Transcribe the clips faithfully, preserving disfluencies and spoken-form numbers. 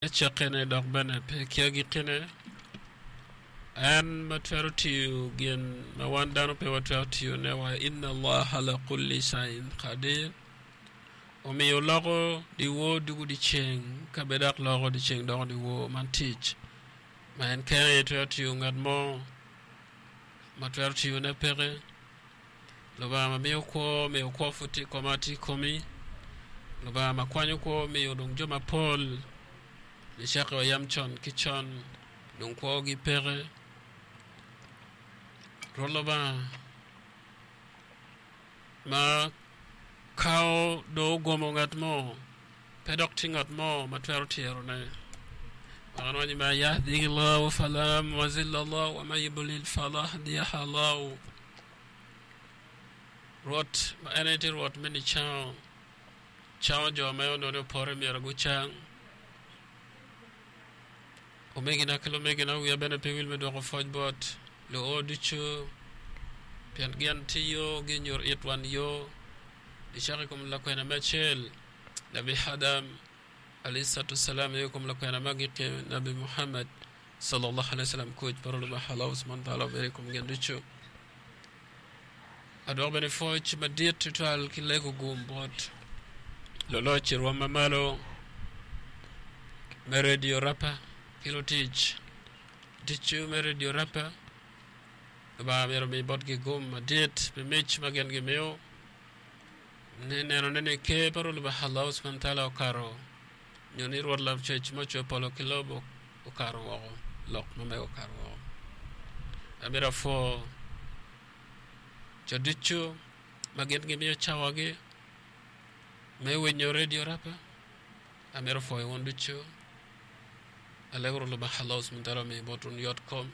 Cakkene dok bene pe ki agikkine, en ma twero tiyo gin ma wan dano pe watwero tiyone wa inna Allaha ala kulli shay'in qadir. Omiyo loko dyewor dugo dyeceng, ka bene dok loko dyeceng doko dyewor, man tic ma en kene aye twero tiyo ngat mo ma twero tiyone peke. Lubanga ma miyo kwo miyo kwo pud tye i koma tye i komi. Lubanga ma kwanyo kwo miyo dong jo mapol nicakke wa yam con ki con dong kwogi peke. Rwot Lubanga ma kawo dong ogomo ngat mo pe dok tye ngat mo ma twero tyerone. Wek en owaco ni ma yahdihi Allahu fala muzilla lahu wa man yudlil fala hadiya lahu. Rwot ma en aye tye Rwot me nicango, cango jo ma onongo ni opore myero gucang. Omegina ki lumegina, wiya bene pe wil me dwoko pwoc bot luo ducu, pien gin tiyo ginyuto it wan yo nicako i kom lakwena me acel, Nabi Adam alayhi salatu wasalam, nio i kom lakwena me agikki, Nabi Muhammad sallallahu alayhi wasallam, kuc pa Lubanga Allah subhanahu wa ta'ala obed i kom gin ducu. Adwoko bene pwoc madit tutwal ki lego gum bot luloc i rwom ma malo me redio Rapa ki lutic ducu me redio Rapa. Lubanga myero omi botgi gum madit pi mic ma gin gimiyo me nenone ni Ker pa Rwot Lubanga Allah subhanahu wa ta'ala okato nyo ni Rwot Lacwec ma ocweyo polo ki lobo okato woko, lok ma mege okato woko. Amito apwo jo ducu ma gin gimiyo cawagi me winyo redio Rapa. Amito pwoyo wun ducu. Alego Rwot Lubanga Allah subhanahu wa ta'ala omi bot wun yot kom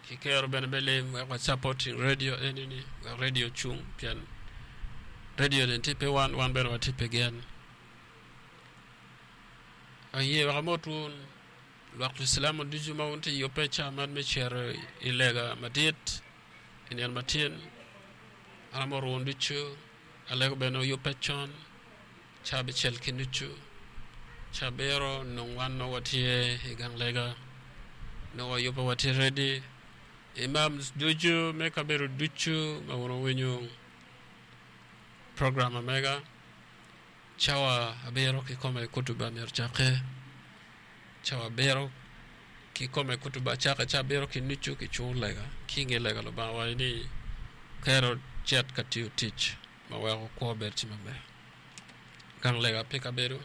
ki kero bene me lim wek wa supporting redio eni-ni wek redio ocung pien redio ni tye pi wan, wan bene watye pi gin. Aye wek amot wun lwak Lucilamu ducu ma wun tye i yubbe ca man me cito i lega madit i nino matin. An amoto wun ducu, alego bene wuyubbe con ca abicel ki nucu, ca abiro nongo wan nongo watye i gang lega, nongo wayubbe watye redi. Imams ducu me kabedo ducu ma wun wuwinyo program ma mega. Cawa abiro kikome kutuba myero ocakke, cawa abiro kikome kutuba cakke, cawa abiro ki nucu kicungo lega ki i nge lega Lubanga owaco ni kero cet ka tiyo tic ma weko kwo bedo tye maber. Gang lega pe kabedo,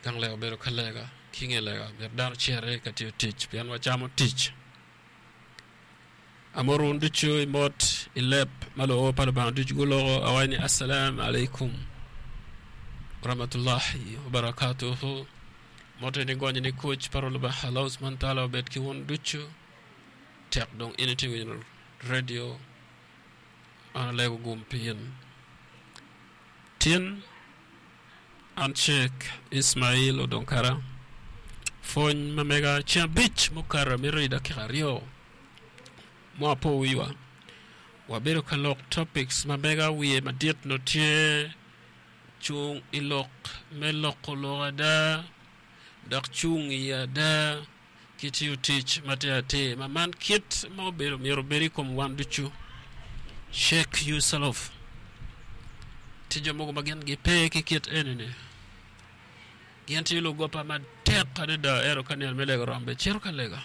gang lega obedo ka lega ki i nge lega myero dano ociti ka tiyo tic pien wacamo tic. Amoto wun ducu i mot i leb ma luor pa Lubanga ducu guloko, awaco ni, Assalam alaikum warahmatullahi wabarakatuhu. Mot eni gonyo ni kuc pa Rwot Lubanga Allah subhanahu wa ta'ala obed ki wun ducu. Tek dong in itye winyo radio, an alego gum pi in. Tin an Sheikh Ismail Odongkara, pwony ma mega ceng abic mukato amito i dakika aryo. Mo apo wiwa, wabedo ka lok topics ma mega wiye madit nongo tye cung i lok me loko lok ada dok cung i ada ki tiyo tic ma tye atir ma man kit ma obedo myero obed i kom wan ducu. Check yourself. Tye jo mogo ma gin gipe ki kit eni-ni. Gin tye lugopa matek adada ento ka nino me lega oromo bene cito ka lega.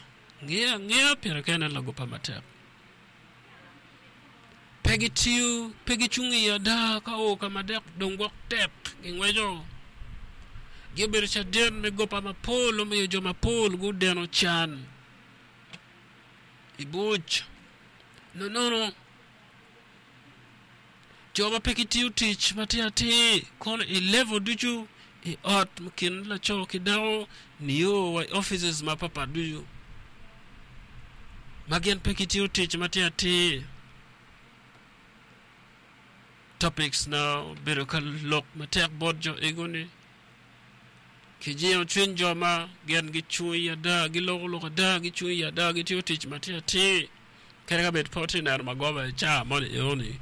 Ngiyo angiya pire kene lagopa matek. Pe gitiyo, pe gicung i ada ka o ka ma dek dong gwok tek gingweco. Giobedo caden me gopa mapol omiyo jo mapol gudeno can i buc. Nonono, jo ma pe gitiyo tic ma tye atir kono i level ducu i ot i kin laco ki dako nio wa i offices mapapat ducu ma gin pe gitiyo tic ma tye atir. Topics na obedo ka lok matek bot jo ego-ni kijingo cwiny jo ma gin gicung i ada, giloko lok ada, gicung i ada, gitiyo tic ma tye atir. Kadi ka bed pe watye neno magoba i caa moni enoni,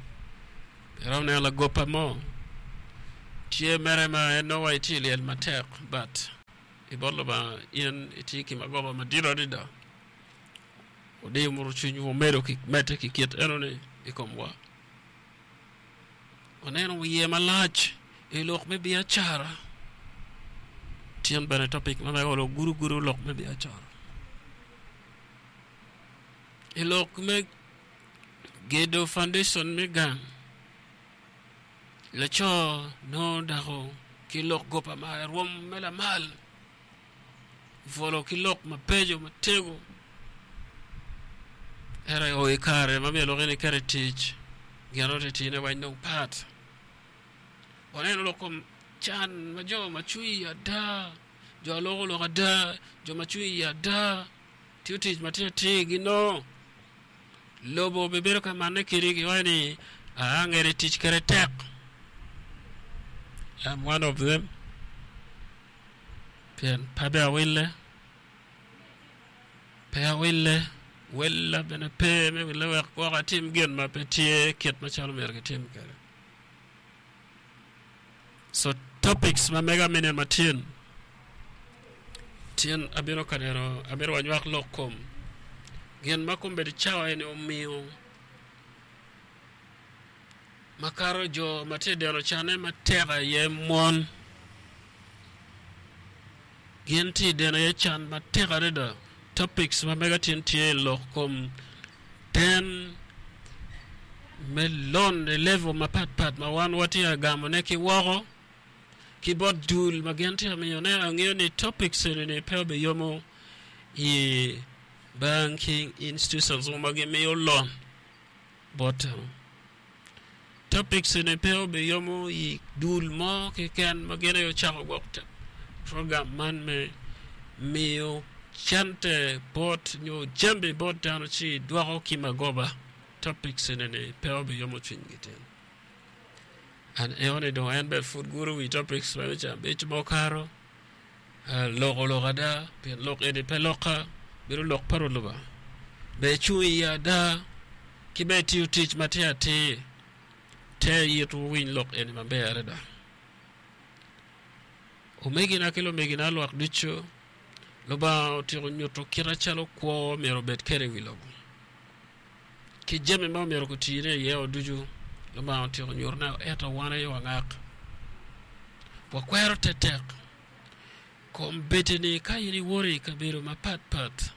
iromo neno lagoba mo Tye mere ma en nongo wa itye i lyel matek but i bot Lubanga in itye ki magoba madit adada. Odiyo muto cwinywu omedo ki medde ki kit enoni i komwa. Waneno wiye malac i lok me biacara. Tyen bene topic ma mego lok gudo gudo lok me biacara. I lok me gedo foundation me gang, laco nongo dako ki lok gopa ma rwom me lamal, bwolo ki lok mabeco matego. Ento o i kare ma myero lok eni ket i tic, gin oti tine weny dong pat. Waneno lok kom can ma jo ma cwiny i ada, jo aloko lok ada, jo ma cwiny i ada, tiyo tic ma tye atir ginongo. Lobo bibedo ka manne kedi giwaco ni aa ngede tic kede tek. I'm one of them. Pien pe abe awille, pe awille, wella bene pe me wille wek gwok atim gin ma pe tye kit macalo myero gitim kwede. So topics ma mega me nino matin, tyen abino ka neno amito wanywak lok kom gin ma kombeddi cawa eni omiyo makato jo ma tye deno canne matek aye mon. Gin tye deno aye can matek adada. Topics ma mega tin tye lok kom den me loan i level mapatpat ma wan watye ka gamone ki woko ki bot dul ma gin tye ka miyone. Angeyo ni topics eni pe obiyomo i banking institutions ma gimiyo loan bot dano. Topics eni pe obiyomo i dul mo keken ma gin aye ocako gwok program man me miyo cente bot nyo jambi bot dano ci dwoko ki magoba. Topics eni pe obiyomo cwinygi tin. An eno dong en bene pud guro wi topics ma ca abic ma okato loko lok ada pien lok eni pe loka bedo lok pa Rwot Lubanga. Ber icung iye ada ki ber itiyo tic ma tye atir te itwu winy lok eni maber adada. Omegina ki lumegina lwak ducu Lubanga otyeko nyuto kit acalo kwo myero obed kwede i wi lobo. Ki jami ma myero gutine iye ducu Lubanga otyeko nyutone ento wan aye wangak. Wakwero tetek kombeddi-ni ka in iwoto i kabedo mapatpat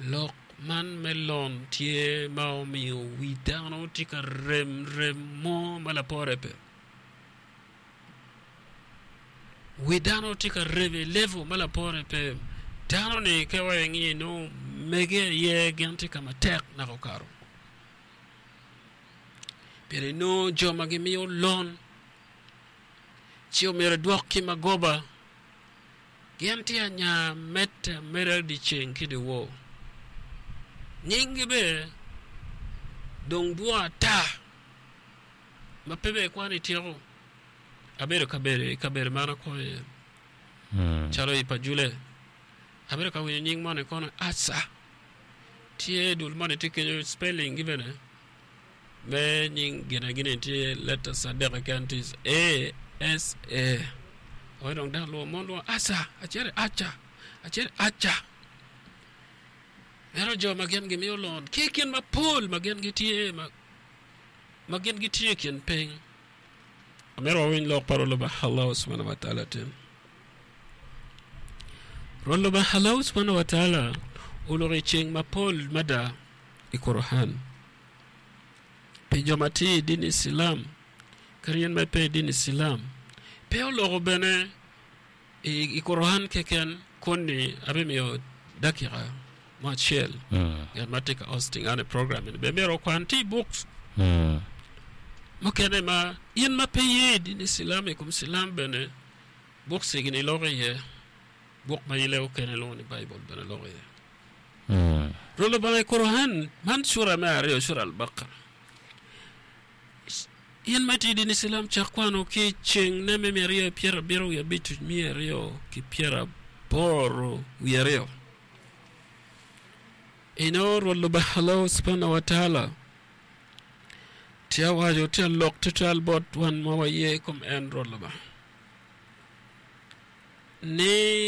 lok man me loan tye ma omiyo wi dano tye ka rem rem mo ma lapore pe. Wi dano tye ka rem i level ma lapore pe. Dano ni ka wa ingiyo nongo mege aye gin tye ka matek naka okato. Pien inongo jo ma gimiyo loan ci omyero idwok ki magoba gin tye anya medde ameda dyeceng ki dyewor. Nyinggi bene dong dwong ata ma pe bene ikwano ityeko. Abedo kabedo i kabedo man akwo iye calo i Pajule abedo ka winyo nying moni kono Aca tye dul moni tye kenyo spelling gi bene me nying gine gini tye letters adek keken tye A S A wek dong dano lwongo mon lwongo Aca acel Aca acel Aca meno jo ma gin gimiyo loan ki i kin mapol ma gin gitye ma gin gitye i kin piny. Amito wawiny lok pa Rwot Lubanga Allah subhanahu wa ta'ala tin. Rwot Lubanga Allah subhanahu wa ta'ala oloko i ceng mapol mada i Quran. Pi jo ma tye i dini Islam kadi in ma pe i dini Islam pe oloko bene i Quran keken koni abimiyo dakika mo acel ngat ma tye ka hosting an i program ni bene myero okwan tye i books mukene ma in ma pe iye i dini Islam i kom Islam bene books gini loko iye buk ma ilego kene lwongo ni Bible bene loko iye. Rwot Lubanga i Quran man cura me aryo cura Al-Baqarah In ma itye i dini Cilam cak kwano ki ceng ne me miya aryo pyerabiro wiye abic miya aryo ki pyeraboro wiye aryo. Ino Rwot Lubanga Allah subhanahu wa ta'ala tye awaco tye alok tutwal bot wan ma waye i kom en Rwot Lubanga. Ni